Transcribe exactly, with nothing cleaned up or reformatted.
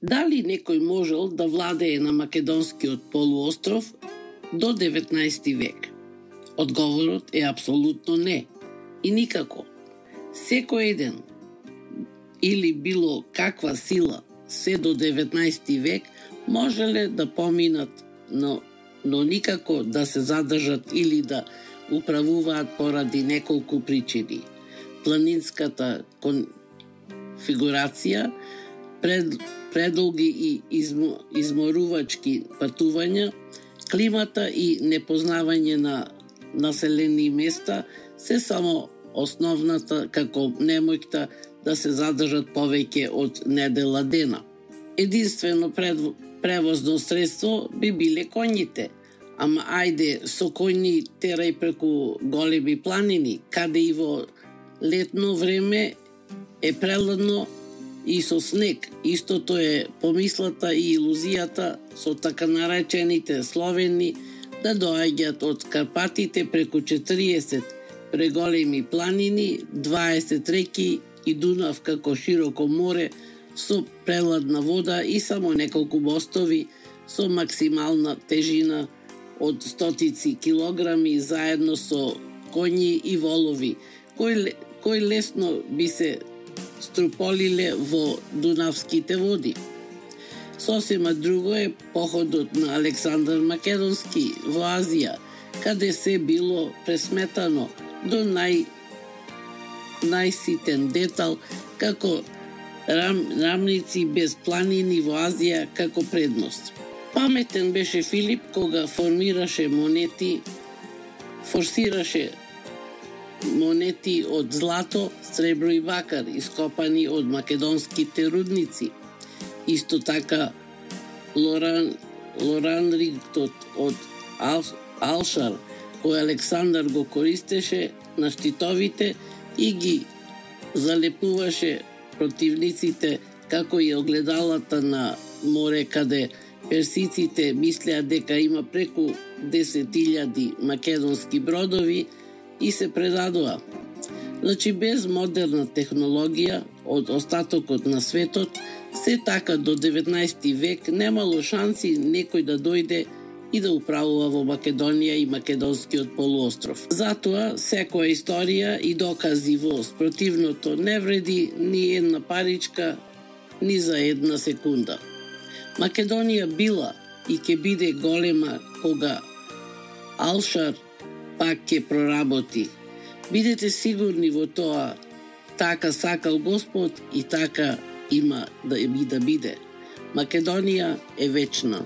Дали некој можел да владее на македонскиот полуостров до деветнаести век? Одговорот е апсолутно не и никако. Секој еден или било каква сила се до деветнаести век можеле да поминат, но, но никако да се задржат или да управуваат поради неколку причини. Планинската конфигурација, пред, предолги и измо, изморувачки патувања, климата и непознавање на населени места се само основната како немојкта да се задржат повеќе од недела дена. Единствено пред, превозно средство би биле коњите, ама ајде со коњи терај преку големи планини, каде и во летно време е преладно и со снег. Истото е помислата и илузијата со така наречените словени да доаѓаат од Карпатите преку четириесет преголеми планини, дваесет реки и Дунав како широко море со преладна вода и само неколку мостови со максимална тежина од стотици килограми заедно со коњи и волови, кои, кои лесно би се струполиле во Дунавските води. Сосема друго е походот на Александар Македонски во Азија, каде се било пресметано до нај најситен детал како рам, рамници без планини во Азија како предност. Паметен беше Филип кога формираше монети, форсираше монети од злато, сребро и бакар, ископани од македонските рудници. Исто така Лоран, Лоранриктот од Ал, Алшар, кој Александар го користеше на штитовите и ги залепуваше противниците, како и огледалата на море, каде персиците мислеа дека има преку десет илјади македонски бродови и се предадоа. Значи, без модерна технологија од остатокот на светот, се така до деветнаести век немало шанси некој да дојде и да управува во Македонија и македонскиот полуостров. Затоа, секоја историја и докази во спротивното не вреди ни една паричка, ни за една секунда. Македонија била и ќе биде голема кога Алшар пак ќе проработи. Бидете сигурни во тоа, така сакал Господ и така има да би да биде. Македонија е вечна.